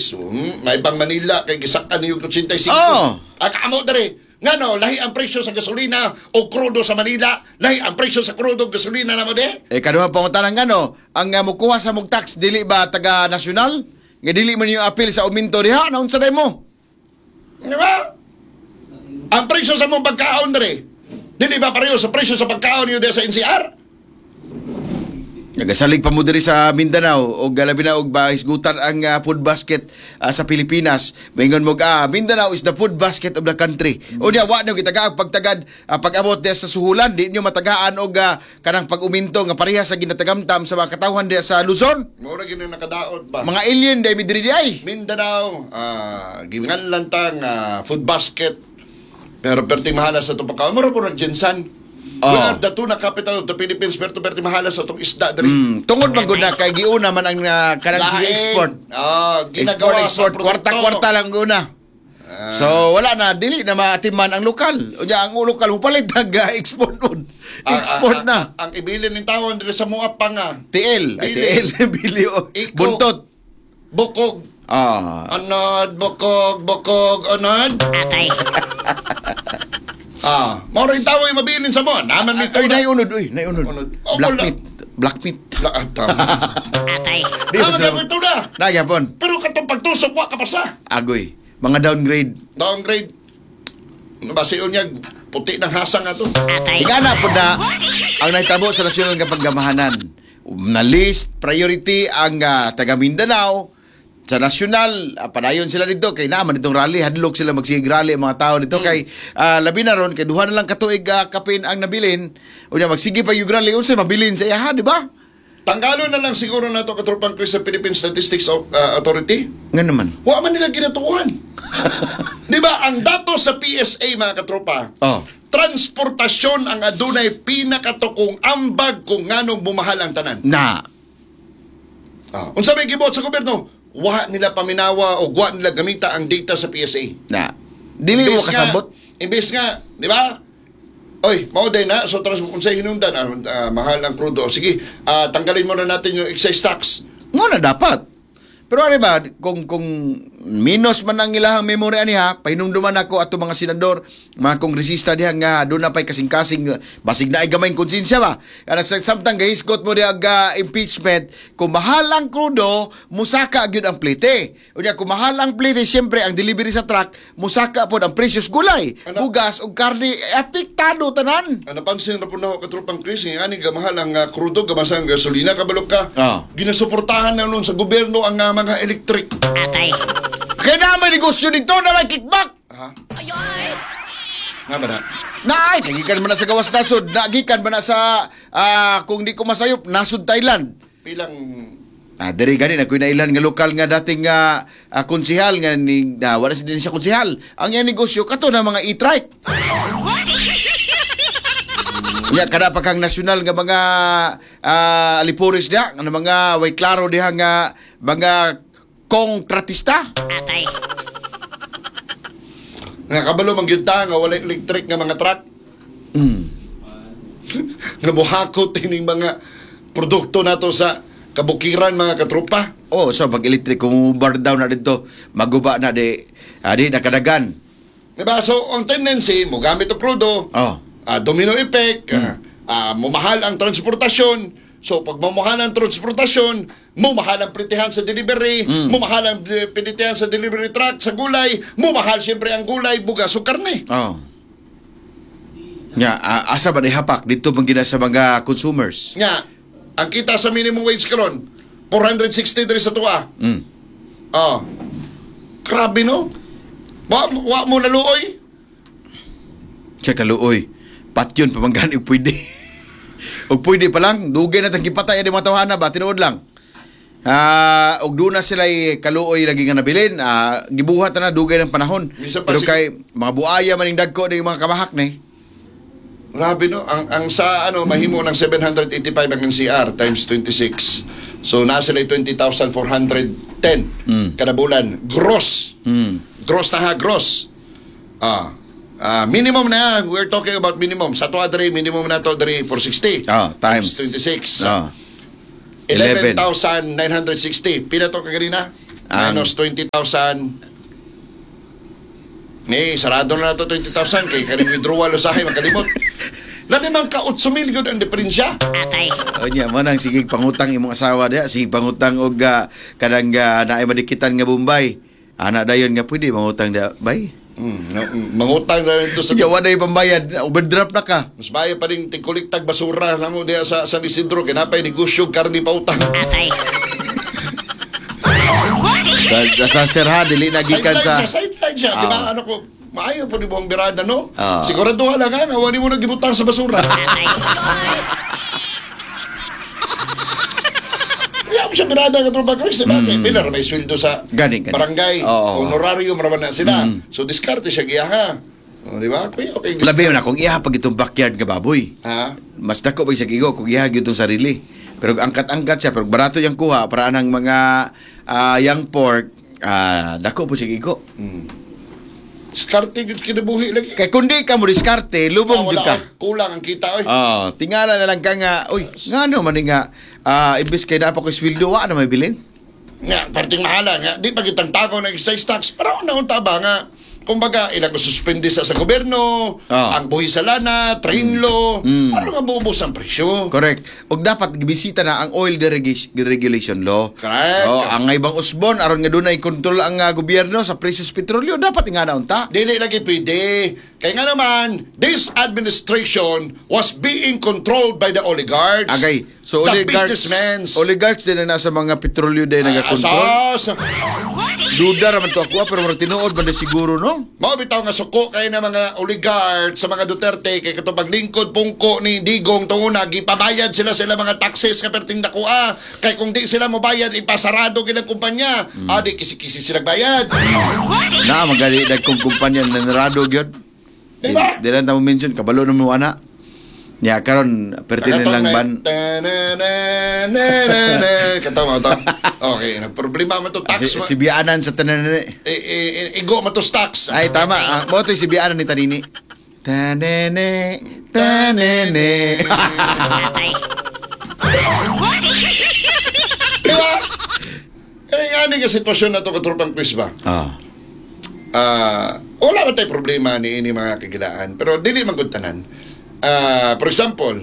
Philippines. May bang Manila kay gisakan niyo 85. Oh. Ang amo dere. Ngano lahi ang presyo sa gasolina o krudo sa Manila, lahi ang presyo sa krudo o gasolina namo de? Eh kaduha pangutana ngano, ang mukuha sa mong tax dili ba taga nasyonal? Nga dili man yung apil sa uminto diha, naunsa day mo? Di ba? Ang presyo sa mong pagkaon dere. Dili ba pareho sa presyo sa pagkaon niyo diha sa NCR? Nagasalig pa mo diri sa Mindanao og labi na og bahisgutan ang food basket sa Pilipinas. Maingon mo Mindanao is the food basket of the country. Unya wa nyo gitagaag pagtagad pag-abot diha sa suhulan, di nyo matagaan og kanang pag-uminto nga pareha sa ginatagamtam sa mga katawhan diha sa Luzon. Mura gid na nakadaot ba? Mga alien dai mi diri di ay. Mindanao, gimingan tang food basket. Pero perti mahala sa itong pagkaon. Mura po nag-GenSan. We Oh. are the tuna capital of the Philippines, pero perti mahala sa itong isda diri. Tungod man gud na kay giuna man ang kanang sige Lain. export. Ginagawa Export, sa export, produkto. kwarta-kwarta lang guna. So wala na dili na maatiman ang lokal. Unya ang lokal mupalit nag export nun. Export na. Ang ibilin ng tawon diri sa mua pa nga. TL, ay Bili. TL bili o Iko. buntot. Bukog. Anod, bukog, bukog, anod. Atay. Mao rin tao yung mabilin sa mo. Naman may Ay tuna. naiunod, uy, naiunod. Unod. Oh, Black wala. meat, black meat. La, tama. Atay. Di Naman ba may tuna. Nagyapon. Pero katong pagtusok, wa ka pa sa. Agoy. Mga downgrade. Downgrade. Basion niya, puti ng hasang ato. Atay. Ingana po na ang nahitabo sa nasyonal nga paggamahanan. Na list priority ang taga Mindanao sa nasyonal, padayon sila dito kay naman itong rally, hadlok sila magsigig rally ang mga tao dito kay labi na ron kay duha na lang katuig kapin ang nabilin, unya magsige pa yung rally unsay mabilin sa iyaha, di ba? Tanggalo na lang siguro na ito katropang Chris sa Philippine Statistics Authority. Nga naman. Wa man nila ginatuan. Di ba? Ang dato sa PSA, mga katropa, Oh. transportasyon ang adunay pinakatukong ambag kung nganong bumahal ang tanan. Na. Unsa may gibuhat sa gobyerno? Wa nila paminawa o wa nila gamita ang data sa PSA. Na. Dili mo Imbes nga- kasabot. Imbes nga, di ba? Oy, mao din na. So, unsay hinungdan, mahal ang krudo. Sige, tanggalin muna natin yung excise tax. Mo na dapat. Pero ano ba, kung minus man ang ilahang memory ani ha, pahinumduman ako ato mga senador, mga kongresista diha nga doon na pa'y kasing-kasing, basig na ay gamay konsensya ba? Ana sa samtang gahisgot mo diha ga impeachment, kung mahal ang krudo, musaka gyud ang plite. Unya kung mahal ang plite, siyempre ang delivery sa truck, musaka pod ang presyos gulay, Ano? bugas ug karne, apektado tanan. Ang napansin na po na ako, katropang Chris, nga ani gamahal ang krudo, gamasa ang gasolina, kabalok ka. Ginasuportahan na nun sa gobyerno ang mga electric. Atay. Kaya na may negosyo dito na may kickback. Ha? Nga ba na? Naay, nagikan man na sa gawas nasod, nagikan man na sa kung di ko masayop, nasod Thailand. Pilang Diri gani na kuy nailan nga lokal nga dating nga konsehal nga ni na, wala si din siya konsehal. Ang iyang negosyo kato na mga e-trike. Ya kada pa kang nasyonal nga mga alipores diha, nga mga way klaro diha nga mga kontratista. Atay. Nga kabalo man gyud ta nga wala electric nga mga truck. Nga mohakot ining mga produkto nato sa kabukiran, mga katropa. Oh, so pag electric kung bar down na dito, maguba na di di nakadagan. Diba? So, ang tendency, mo gamit og krudo, domino effect, mumahal ang transportasyon. So, pag mamahal ang transportasyon, mumahal ang pritihan sa delivery, mumahal ang pinitihan sa delivery truck, sa gulay, mumahal siyempre ang gulay, bugas o karne. Oh. Nga, asa ba ni hapak dito man gina sa mga consumers? Nga, ang kita sa minimum wage karon, 460 diri sa tuwa. Grabe no? Wa mo naluoy? Siya kaluoy. Patyon pa man gani og pwede. Og pwede pa lang, dugay na tang gipatay ani mga tawhana ba tinuod lang. Og doon na sila kaluoy lagi nga nabilin. Gibuhat na dugay ng panahon. Bisan pa Pero kay mga buaya maning dagko ning mga kamahak ni. Grabe no, ang sa ano mahimo ng 785 ang NCR times 26. So nasa sila 20,410 kada bulan gross. Gross na ha, gross. Minimum na, we're talking about minimum. Sa to adre minimum na to adre 460. Times 26. 11. 11,960. Pila to kaganina? Minus 20,000. Ni, sarado na nato 20,000 kay kaning withdrawal usahay makalimot. Lalimang ka 8 mil gyud ang diferensya. O niya, mo nang sige pangutang imong asawa diha, sige pangutang og kanang naay madikitan nga Bombay. Ana dayon nga pwede mangutang diha, bay. No, mangutang na rin to sa Sige, wa na pambayad, overdraft na ka. Mas maayo pa rin tigkuliktag basura namo diha sa San Isidro kay napay negosyo karni pautang. Sa sir ha, dili na gikan Sideline sa siya, sideline siya, di ba? Ah. Ano ko, maayo po ni buong birada, no? Ah. Siguraduhan lang ha, nga wala mo nagibutang sa basura. Kaya mo siya birada ka tropa Chris, di ba? Kay Pilar, may sweldo sa Gani, gani. barangay, Oo. honorario, maraman na sila. So, diskarte siya giya ha. O, di ba? Kuya, okay. Labi na kung iha pag itong backyard nga baboy. Ha? Mas dako pa siya gigo kung iha gyud itong sarili. Pero angkat-angkat siya, pero barato yang kuha para anang mga young pork, dako po siya gigo. Diskarte gyud kinabuhi lagi. Kay kundi ka mo diskarte, lubong Ah, jud wala, ka. oy. Kulang ang kita, oy. Oh, tingala na lang ka nga, uy, ngano man ni nga, imbes kay dapat ko sweldo wa na may bilin. Nga, parting mahala nga. Di pa kitang tago ng excise tax. Pero una unta ba nga, kumbaga, ilang suspende sa gobyerno, Ah. ang buhi sa lana, train law, ano nga buubos ang presyo? Correct. Og dapat gibisita na ang oil deregulation law. Correct. Oh, ang ibang usbon aron nga dunay kontrol ang gobyerno sa presyo sa petrolyo, dapat nga na unta. Dili lagi pwede. Kaya nga naman, this administration was being controlled by the oligarchs. Agay. So the oligarchs, businessmen. oligarchs din ang nasa mga petrolyo din nagakontrol. Asas. Duda raman to ako pero murag tinuod man di siguro no. Mao bitaw nga suko kay na mga oligarch sa mga Duterte kay katong paglingkod pungko ni Digong tunguna gipabayad sila sa ilang mga taxes nga perting dakoa kay kung di sila mobayad ipasarado gilang kumpanya. Adi kisi-kisi sila bayad. Na magali dagkong kumpanya na narado gyud. Diba? Di lang ta mo mention kabalo na mo ana. Ya karon pertinent lang ban. Kataw mo to. Okay, nagproblema man to tax. Si, si bianan sa tanan Eh, eh, igo man to tax. Ay tama, mo to si bianan ni Tanini. Tanene, tanene. Diba? Kaya nga ni nga sitwasyon na to katropang quiz ba? Ah. Wala ba tayo problema ni ini mga kagilaan pero dili man gud tanan. For example,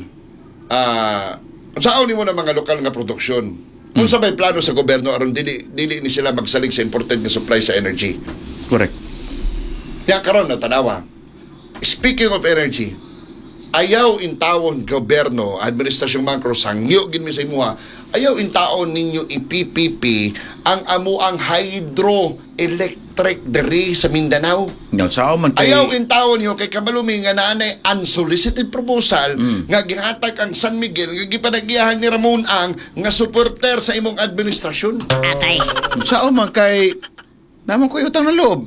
unsaon nimo na mga lokal nga produksyon, unsa may plano sa gobyerno aron dili dili ni sila magsalig sa imported nga supply sa energy? Correct. Ya karon na tanawa, speaking of energy, ayaw intawon gobyerno, administrasyong Macro, sangyo gid mi sa imuha, ayaw intaon ninyo i-PPP ang amuang hydroelectric diri sa Mindanao. Nya sao man kay Ayaw intawon niyo kay kabalumi nga naanay unsolicited proposal nga gihatag ang San Miguel nga gipanagiyahan ni Ramon Ang nga supporter sa imong administrasyon. Sao man kay naman ko utang na loob.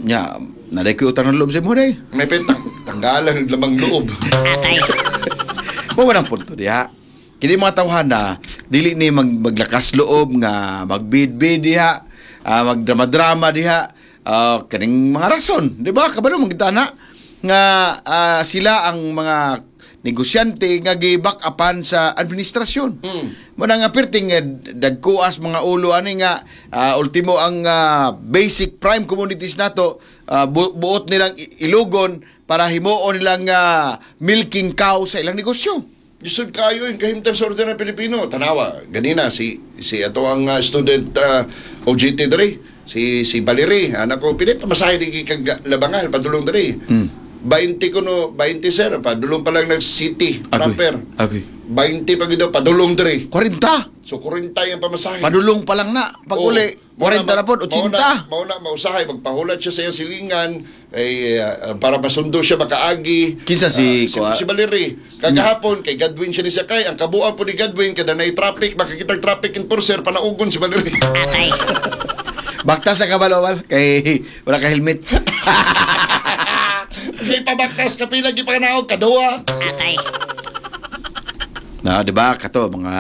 Nya, naday ko utang na loob sa imo day. May petang tanggalan ng lamang loob. Mo man ang punto diha. Kini mga tawhan na dili ni maglakas loob nga magbidbid diha, magdrama-drama diha, kaning mga rason, di ba? Kabalo man kita na nga sila ang mga negosyante nga gi-back upan sa administrasyon. Mo na nga perting dagkuas mga ulo ani nga ultimo ang basic prime communities nato buot nilang ilugon para himuon nilang milking cow sa ilang negosyo. Jusod kayo yung kahimtang sa ordinary Pilipino. Tanawa, ganina si si ato ang student OJT diri, si si Valerie, anak ko pinit pamasahe di kag Labangal padulong diri. 20 ko no, 20 sir, padulong pa lang nag city proper. Agoy. 20 pa gid daw, padulong diri. 40. So 40 yung pamasahe. Padulong pa lang na. Pag Oo. uli, 40 na po, 80. Mao na mausahay magpahulat siya sa iyang silingan eh, para masundo siya makaagi. Kinsa si- Si, si Valerie. Kagahapon kay Godwin siya ni sakay. Ang kabuang po ni Godwin kada nay traffic makakita traffic enforcer panaugon si Valerie. Bakta sa kabalowal kay wala ka helmet. Di pa baktas kapila gipanaog kaduha. Na, di ba? Kato, mga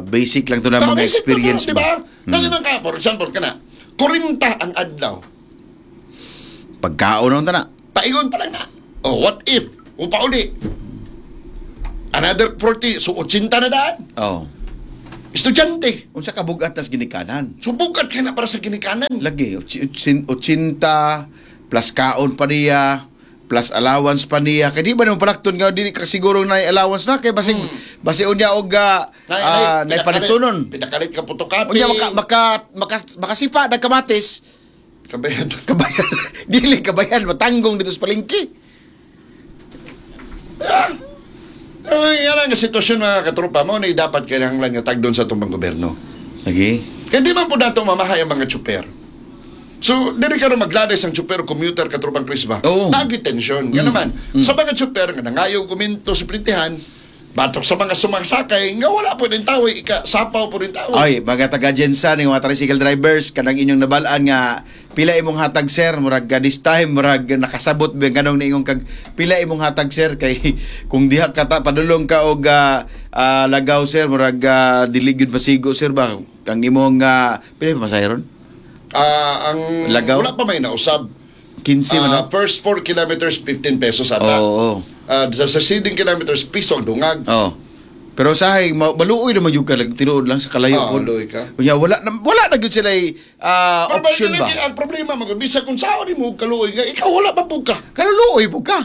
basic lang to na mga Basic na experience to, di mo. ba? Dali man ka, for example kana 40 ang adlaw. Pagkaon na na. Paingon pa lang na. Oh, what if? Upa uli. Another 40, so 80 na daan. Oh. Estudyante Estudyante. Unsa ka bugat tas ginikanan? So bugat ka na para sa ginikanan. Lagi 80 plus kaon pa niya plus allowance pa niya kay di ba naman palakton nga dili ka siguro na allowance na kay basig basi unya og nay palitunon. Pinakalit ka photocopy. Unya maka maka maka makasipa nag kamatis. Kabayan. Kabayan, dili kabayan matanggong dito sa palengke. Ay, yan ang sitwasyon, mga katropa mo na dapat kailangan nga tagdon sa itong gobyerno. Lagi. Kaya di man po nato mamahay ang mga tsuper. So, diri ka rin magladay ang tsuper o commuter, katropang Chris ba? Oo. Lagi tensyon. Nga naman, sa mga tsuper nga nangayaw kuminto sa plintihan, batok sa mga sumasakay, nga wala po rin tao, ika, sapaw po rin tao. Ay, mga taga Jensa ning mga tricycle drivers kanang inyong nabalaan nga pila imong hatag, sir, murag this time murag nakasabot ba ganong niingon kag pila imong hatag, sir, kay kung diha ka ta padulong ka og lagaw, sir, murag dili gyud masigo, sir, ba kang imong pila pa masahe ron? Ah, ang Lagaw? Wala pa may nausab. 15 man, no? First 4 kilometers, 15 pesos ata. Oo. Sa succeeding kilometers, piso ang dungag. Oo. Pero sahay maluoy naman yung ka tinuod lang sa kalayo Oo, po. maluoy ka. Unya wala na gyud sila Pero option ba. lagi, ang problema, mga bisa kung saan mo kaluoy nga, ikaw wala pa po ka. Kaluluoy po ka.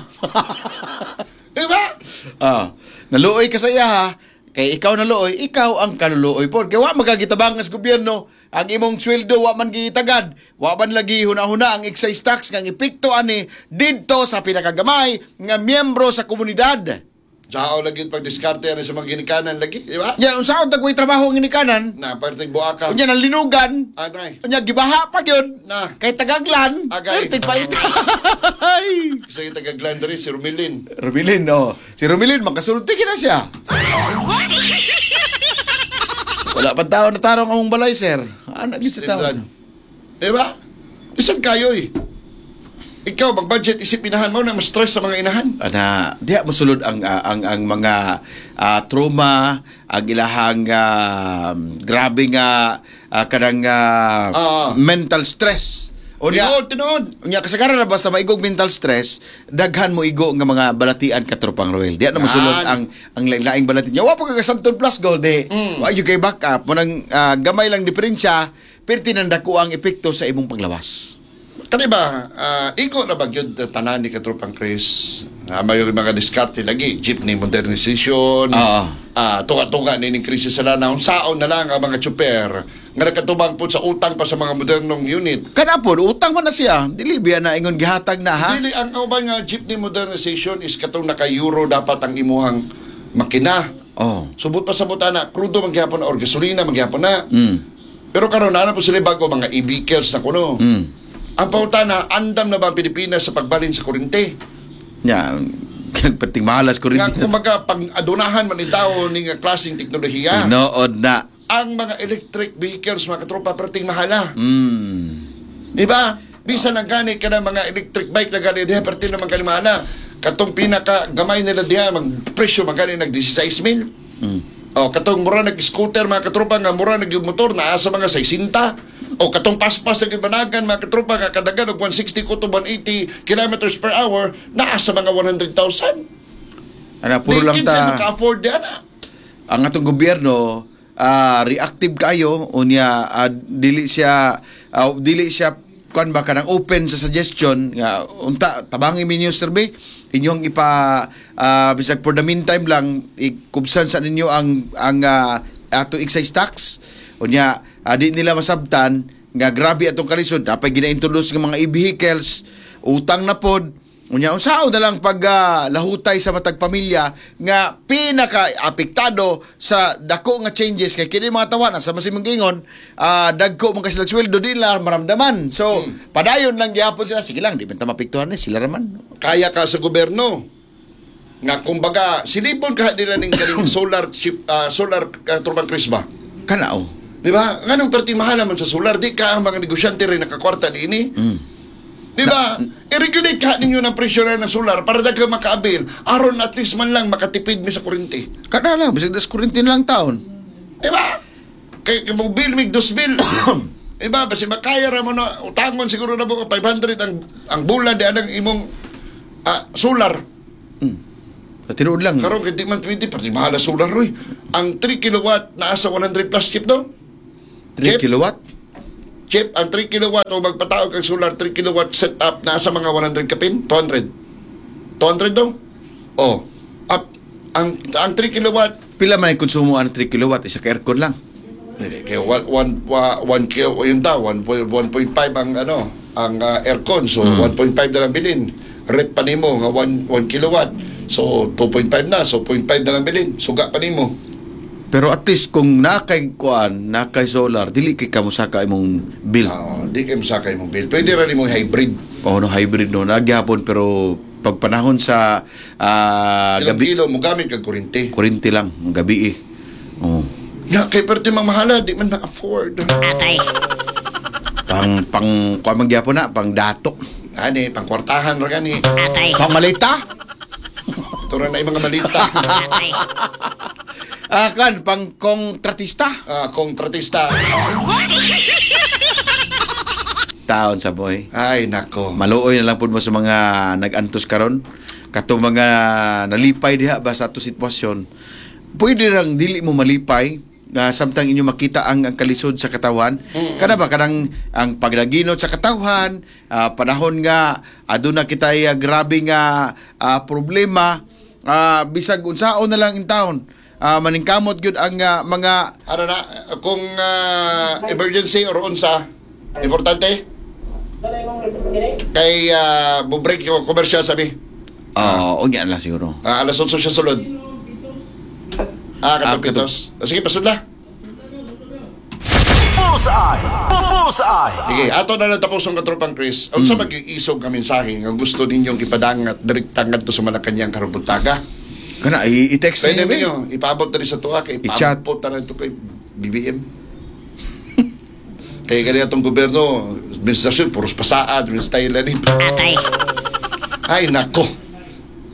Di ba? Naluoy ka sa iya ha. Kay ikaw naluoy, ikaw ang kaluluoy po. Kay wa magagitabangas gobyerno, ang imong sweldo wa man gitagad, wa man lagi huna-huna ang excise tax nga ang epekto ani didto sa pinakagamay nga miyembro sa komunidad. Sao lagi pagdiskarte yan sa mga ginikanan lagi, di ba? Nya unsaon tag way trabaho ang ginikanan? Na, parte buaka. Unya nalinugan, Anay. unya gibaha pa gyud. Na. Kay tagaglan, Agay. pertig pa ita. Kasi yung taga diri, si Romilin. Romilin, oh. Si Romilin, makasulti na siya. Wala pa tao na tarong among balay, sir. Anak gyud sa tao. Tinlan. Di ba? Isan kayo eh. Ikaw, mag-budget, isip inahan mo na mas-stress sa mga inahan. Ana, diha mosulod ang mga trauma, ang ilahang grabe nga kanang mental stress. Unya, Tinuod, tinuod. unya kasagaran na basta maigog mental stress, daghan mo igo nga mga balatian, katropang Roel. Diha na mosulod Yan. ang laing balati niya. Wa pa ka Santon Plus Gold eh. Wa gyud kay backup mo nang gamay lang diferensya, perti nang dako ang epekto sa imong panglawas. Kani ba, igo na ba gyud tanan ni Katropang Chris? May mga diskarte lagi, jeepney modernization, tunga-tunga ni ning krisis sa lanaw, saon na lang ang mga tsuper nga nakatubang po sa utang pa sa mga modernong unit. Kana po, utang man na siya. Dili biya na ingon gihatag na ha. Dili ang kauban nga jeepney modernization is katong naka-euro dapat ang imuhang makina. Subot pa sa butana, krudo man gihapon na or gasolina man gihapon na. Pero karon na po sila bago mga e-vehicles na kuno. Ang pautana, andam na ba ang Pilipinas sa pagbalin sa kurente? Nya, perting mahalas ko rin. Nga kumbaga pag adunahan man ni tao ni nga klaseng teknolohiya, Tinuod na. ang mga electric vehicles, mga katropa, perting mahala. Di ba? Bisan ang gani ka ng mga electric bike na gani diha, perting naman gani mahala. Katong pinaka gamay nila diha mag presyo man gani nag 16 mil. O katong mura nag scooter, mga katropa, nga mura nag yung motor naa sa mga 60. O katong paspas na gibanagan, mga katropa, nga kadagan og 160 ko to 180 kilometers per hour naa sa mga 100,000. Ana, puro Di lang kinsa ta. maka-afford diha na. Ang atong gobyerno reactive kayo, unya dili siya kuan ba kanang open sa suggestion nga unta tabangi minyo survey inyong ipa bisag for the meantime lang ikubsan sa ninyo ang ato excise tax. Unya di nila masabtan nga grabe atong kalisod, napay gina-introduce ng mga e-vehicles, utang na pod. Unya unsaon na lang pag lahutay sa matag pamilya nga pinaka apektado sa dako nga changes kay kini mga tawana sa masimong gingon dagko man kasi sila sweldo di nila maramdaman. So padayon lang gihapon sila, sige lang di man ta mapektuhan eh, sila raman. Kaya ka sa gobyerno nga kumbaga silipon ka nila ning kaning solar chip, solar, Tropang Chris ba? Kana oh. Di ba? Nganong perti mahal man sa solar, di ka ang mga negosyante rin nakakwarta niini? Di ba? I-regulate ka ninyo ng presyo na ng solar para daghan makaabil aron at least man lang makatipid mi sa kuryente. Kana lang bisag das kuryente na lang taon. Di ba? Kay kay mo bill mig dos bill. Di ba? Basi makaya ra mo na utangon siguro na mo 500 ang bulan di anang imong solar. Sa tinuod lang. Karon kay di man pwede, pati mahal ang solar roy. Ang 3 kilowatt naa sa 100 plus, Chip, no? 3 Chip? kilowatt? Chip, ang 3 kilowatt o magpataog kang solar 3 kilowatt setup naa sa mga 100 kapin, 200. 200 daw? Oh. Up, ang 3 kilowatt, Pila man ang konsumo ang 3 kilowatt? Isa ka aircon lang. Hindi, kaya 1 1 kilo, yun daw, 1.5 ang ano, ang aircon. So 1.5 na lang bilin. Rep pa nimo nga 1 1 kilowatt. So 2.5 na, so 0.5 na lang bilin. Suga pa nimo. Pero at least kung nakay kuan, nakay solar, dili kay kamusaka imong bill. Ah, di kay masakay mong bill. Pwede ra nimo hybrid. Oh no, hybrid no, nagyapon pero pag panahon sa Ilang gabi, kilo mo gamit kag kuryente. kuryente lang, ang gabi eh. Oh. Nga kay perti mang mahala, di man na-afford. Atay. Pang pang kuan man gyapon na, pang dato. Ani, pangkwartahan ra gani. Atay. Pang malita. Ito ra na yung mga malita. Atay. Ah, kan pang kontratista. Ah, kontratista. Taon sa boy. Ay, nako. Maluoy na lang pud mo sa mga nag-antos karon. Katong mga nalipay diha ba sa ato sitwasyon. Pwede rang dili mo malipay nga samtang inyo makita ang kalisod sa katawan. Kana ba kanang ang paglaginot sa katawhan, panahon nga aduna kitay grabe nga problema, bisag unsaon na lang in town. Maningkamot gyud ang mga Ano na, kung emergency or unsa, importante, kay mo-break yung commercial sabi. Oh, unya lang siguro. Alas 8 siya sulod. Ah, Katong pitos. Sige, pasudla. Bullseye! Bullseye! Sige, ato na lang tapos ang katropang Chris. Unsa mm. Mag-iisog nga mensahe nga gusto ninyong ipadangat direkta ngadto sa Malacañang karong buntaga? Kana i-text Pwede ninyo, eh. ninyo ipaabot na rin sa tuwa kay I-chat. ipaabot na rin ito kay BBM. Kaya ganyan itong gobyerno, administrasyon, puros pasaad, style ni. Atay. Ay, nako.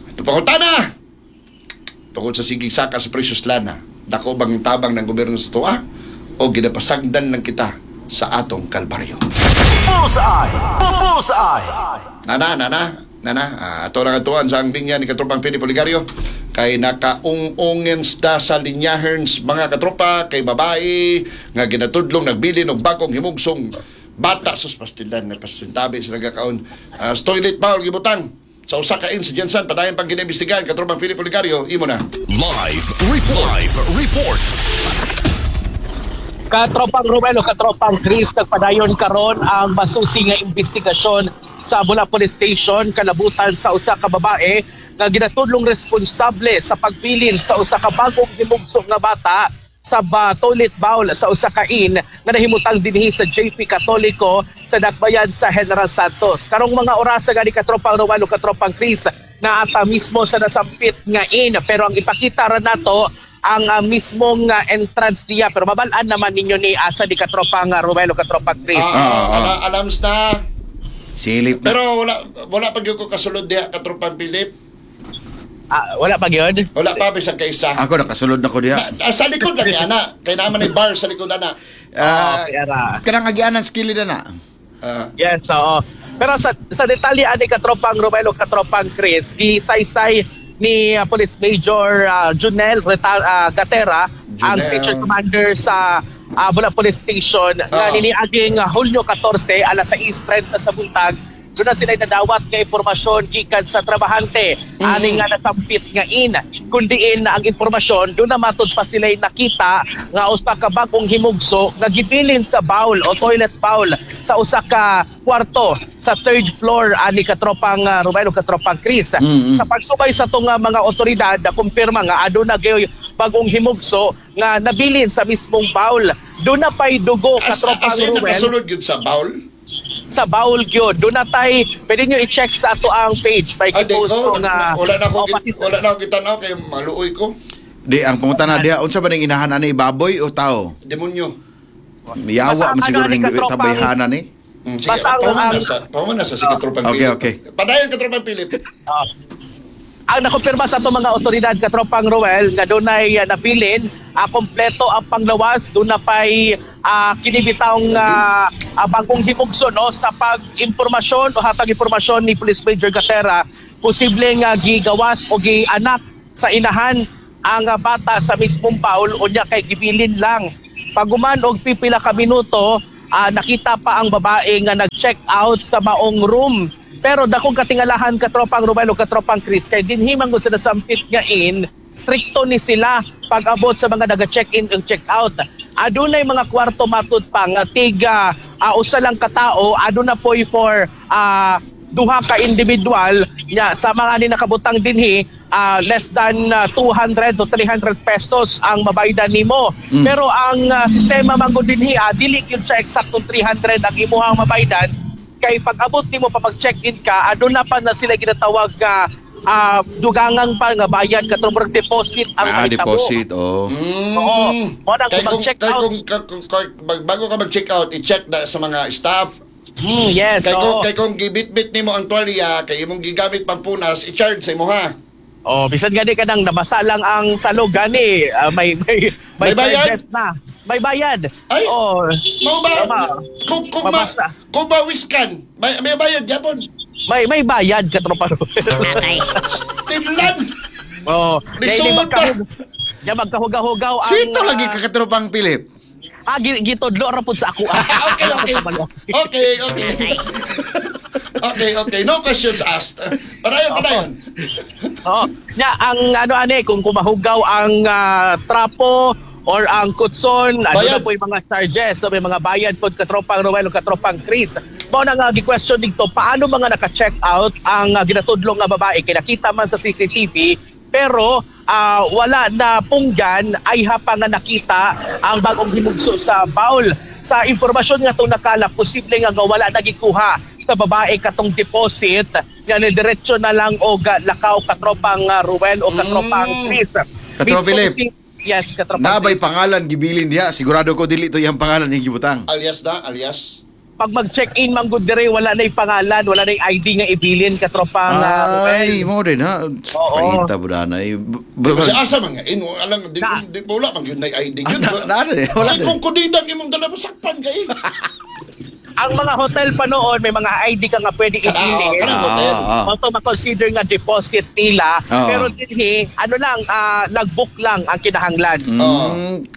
Ito pangutana! Tungkol sa sigig saka sa precious lana, dako bang tabang ng gobyerno sa tuwa o ginapasagdan lang kita sa atong kalbaryo? Bullseye! Bullseye! Nana, nana, nana, ato na katuan sa ang linya ni Katropang Pili Poligario kay nakaung-ungen da sa linyaherns mga katropa kay babae nga ginatudlong nagbilin og bagong himugsong bata sus pastilan na pasintabi sa nagakaon. Sa toilet bowl gibutang sa usa ka inn sa Jensen padayon pang ginimbestigahan. Katropang Pili Poligario, imo na. Live report. Live report. Katropang Romelo, katropang Chris, nagpadayon karon ang masusi nga investigasyon sa Bula Police Station kalabusan sa usa ka babae nga ginatudlong responsable sa pagbilin sa usa ka bagong himugso nga bata sa toilet bowl sa usa ka inn nga nahimutang dinhi sa JP Catolico sa Dakbayan sa General Santos. Karong mga orasa gani, katropang Romelo, katropang Chris, naata mismo sa nasampit nga inn, pero ang ipakita ra nato ang mismong entrance niya, pero mabal-an naman ninyo ni asa di, katropang Romelo, katropang Chris. Alams na. Silip na. Pero wala wala pa gyud ko kasulod diha, Katropang Philip. Wala pa gyud. Wala pa bisan kaysa. Ako nakasulod na ko diha. Sa likod lang niya ana. Kay naman ay bar sa likod ana. Okay, ara. Kanang agianan sa kilid na. Yes, oo. Pero sa detalye ani, katropang Romelo, katropang Chris, gisaysay ni Police Major Junel Gatera, ang Junel. station commander sa Bula Police Station nga niniaging Hulyo 14 alas 6:30 sa buntag doon na sila nadawat nga impormasyon gikan sa trabahante ani nga nasampit nga inn, kundiin na ang impormasyon doon na matud pa sila nakita nga usa ka bag-ong himugso nga gibilin sa bowl o toilet bowl sa usa ka kwarto sa third floor ani, katropang Romelo, katropang Chris. Sa pagsubay sa tong mga otoridad, kumpirma nga aduna gayoy bagong himugso nga nabilin sa mismong bowl. Doon na pay dugo, katropang As in, Ruel. nakasulod yun sa bowl? Sa bowl gyud. Doon na tay, pwede nyo i-check sa ato ang page. May Ay, di post ko. ko nga. Wala na ako, Oh, wala na ako kitanaw kay maluoy ko. Di ang pangutana diha unsa ba ning inahan ani, baboy o tao? Demonyo. Yawa Basta man siguro ano, ning ani, katropang- tabayhanan ni. Sige, Basta pahuman na sa si Katropang Okay, Philip. okay. Padayon, Katropang Philip. Ang nakumpirma sa atong mga otoridad, katropang Roel, nga dunay nabilin, kompleto ang panglawas, doon na pay kinibitang bagong himugso, no, sa pag-impormasyon o hatag impormasyon ni Police Major Gatera, posible nga gigawas o gianak sa inahan ang bata sa mismong bowl, unya kay gibilin lang. Paguman og pipila ka minuto, nakita pa ang babae nga nag-check out sa maong room. Pero dakong katingalahan, katropang Romel ug katropang Chris, kay dinhi man gud sa nasampit nga inn, strikto ni sila pag-abot sa mga naga-check-in ug check-out. Adunay mga kwarto, matud pa, nga tiga usa lang katao, aduna poy for duha ka individual nya. Sa mga ni nakabutang dinhi, less than 200 to 300 pesos ang mabaydan nimo. Pero ang sistema man gud dinhi, dili gyud siya eksaktong 300 ang imuhang mabaydan, kay pag abot nimo pa, pag check-in ka, aduna pa na sila ginatawag nga dugangan pa nga bayad, katong murag deposit ang mahitabo. Deposit, oh. Oo. Mo na Kay kung kung, mag-check kay out. kung bago ka mag-check out, i-check na sa mga staff. Yes. Kay kung kay kung gibit-bit nimo ang tuwalya, kay imong gigamit pangpunas, i-charge sa imo ha. Oh, bisan gani ka nang nabasa lang ang salog gani, may May bayad? charges na. May bayad. Ay! Oh. Mao ba? Tama. Kung Mabasa. kung bawiskan, may bayad gyapon. May bayad, katropa. Tinlan. Oh, Lisod kaya di magkahugaw-hugaw ang Sweet lagi ka, katropang Philip. Gitudlo ra pud sa ako. Okay. Okay. Okay. No questions asked. Padayon, padayon. Oo. Nya ang ano ani, kung kumahugaw ang trapo or ang kutson, ano Bayad. na po yung mga charges, so may mga bayad po, katropang Roel o katropang Chris. Mao na nga gi-question dito, paano mga naka-check out ang ginatudlong nga babae kay nakita man sa CCTV pero wala na punggan ay hapa nga nakita ang bagong hinugso sa bowl? Sa impormasyon nga itong nakalap, posible nga nga wala nagikuha sa babae katong deposit nga nidiretso na lang og lakaw, katropang Ruel o katropang Chris. Katropa Mismo Philip. Yes, katropang Nabay Chris. pangalan gibilin diha. Sigurado ko dili to iyang pangalan yung gibutang. Alias na, alias. Pag mag-check-in man gud dire, wala na yung pangalan, wala na yung ID nga ibilin, katropang Ruel. Ay, mo din ha. Oo. Paita mo na. Kasi asa man nga, ino, alang, di, Na. di, wala man yun na ID yun. Na, wala Kay din. kung kudidang imong dala, masakpan kay. Ang mga hotel pa noon, may mga ID ka nga pwede ibilin. Kanang hotel. Also, ma-consider nga deposit nila. Pero dinhi, ano lang, logbook lang ang kinahanglan.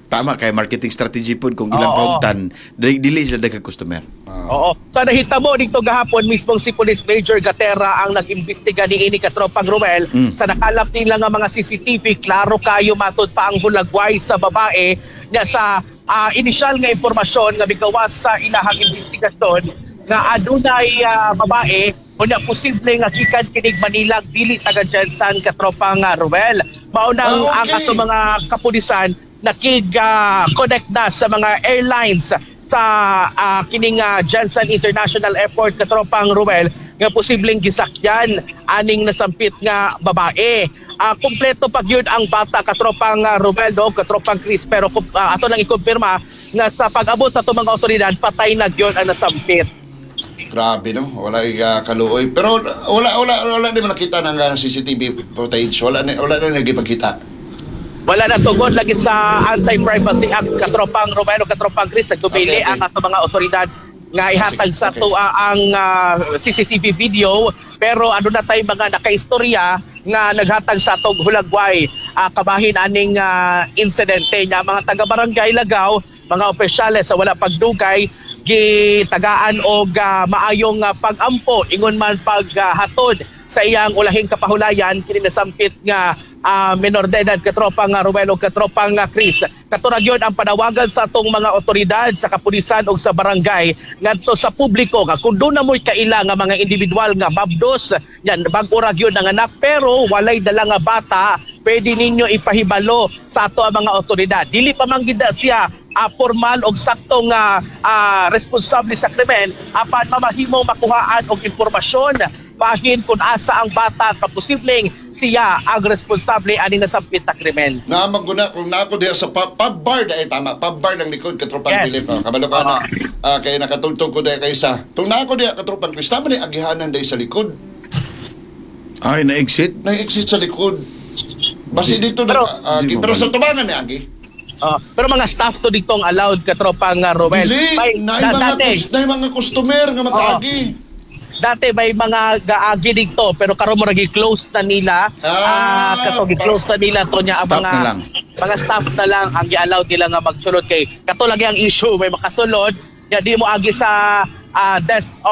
Tama kay marketing strategy pod kung ilang paugtan, dili dili sila daghang customer. Oo. So nahitabo dito gahapon, mismong si Police Major Gatera ang nag-imbestiga niini, katropang Ruel. Sa nakalap nila nga mga CCTV, klaro kayo matud pa ang hulagway sa babae niya. Sa inisyal nga impormasyon nga migawas sa ilahang investigasyon nga adunay babae, unya posible nga gikan kinig Manila, dili taga GenSan, katropang Ruel. Mao nang ang ato mga kapulisan nakig connect na sa mga airlines sa kining GenSan International Airport, katropang Ruel, nga posibleng gisakyan aning nasampit nga babae. Kumpleto pag yun ang bata, katropang Ruel do katropang Chris, pero ato lang ikumpirma nga sa pag-abot sa ato mga otoridad, patay na gyud ang nasampit. Grabe no, wala kaluoy. Pero wala di mo nakita ng CCTV footage. Wala na nagipagkita. Wala na, tungod lagi sa Anti-Privacy Act, katropang Romero, katropang Chris, nagdumili ang ato mga otoridad nga ihatag sa ato ang CCTV video, pero ano na tay mga nakaistorya nga naghatag sa atong hulagway kabahin aning insidente niya. Mga taga-barangay Lagaw, mga opisyales, sa wala pagdugay gitagaan og maayong pag-ampo ingon man paghatod sa iyang ulahing kapahulayan kini nasampit nga menor de edad, katropang Ruel ug katropang Chris. Kato ra gyud ang panawagan sa atong mga otoridad sa kapulisan ug sa barangay ngadto sa publiko nga kung doon na mo'y kaila nga mga individual nga mabdos yan, bag-o ra gyud ang anak pero walay dala nga bata, pwede ninyo ipahibalo sa ato ang mga otoridad. Dili pa man gid siya formal og sakto nga responsable sa krimen, apan mamahimo makuhaan og impormasyon bahin kung asa ang bata ka posibleng siya ang responsable ani nasampit na krimen. Naamang ko na kung naako diha sa pub bar dahil tama, pub bar lang likod, katropang Philip. Oh, kabalo ka na. Kay nakatugtog ko diha kaysa. Tung naako diha, katropang Chris, tama ni agihanan dahil sa likod. Ay, na-exit. Na-exit sa likod. Basi dito na, Di mo pero sa balik. tubangan ni Agi. Oh, pero mga staff to dito ang allowed, katropang Romel. Dili, May, naay mga dati, naay mga customer nga makaagi. Dati may mga gaagi dito, pero karon mo close na nila. Ah, Ah, kato gi-close na nila to niya ang Staff mga na lang. Mga staff na lang ang gi-allow nila nga magsulod kay kato lagi ang issue, may makasulod ya di mo agi sa desk.